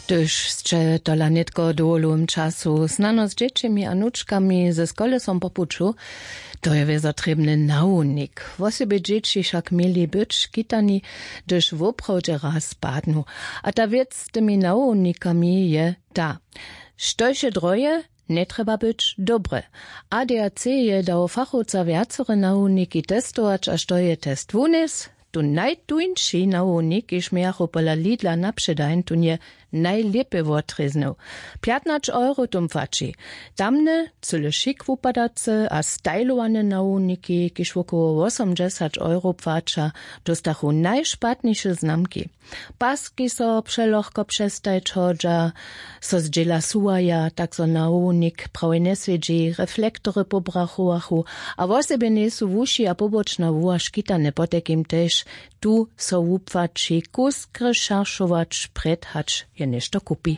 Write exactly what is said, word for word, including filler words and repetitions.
Hdyž sće tola nětko w dowolowym času snano z dźěćimi a nučkami ze školesom po puću, to je wězo trěbny nawownik. Wosebje dźěći wšak měli być škitani, hdyž woprawdźe raz padnu. A ta wěc z tymi nawownikami je ta: štož je droje, njetrjeba być dobre. A d r c je dał fachowca wjacore nawowniki testować a što je test wunjesł, tu najtuńši nawownik, kiž mějachu pola lidla na předań, tón je najlěpje wotrěznył. Pjatnaće euro tón płaći. Tamne cyle šik wupadace a stajlowane nawowniki, kiž wokoło wosomdźesać euro płaća, dóstachu najšpatniše znamki. Paski so přelochko přestajć hodźa, so zdźěla suwaja, tak zo nawownik prawje njeswědźi, reflektory pobrachowachu, a wosebje njejsu wuši a pobočna wuha škitane. Potajkim tež tu so wupłaći kusk rešeršować, prjed hač je něšto kupi.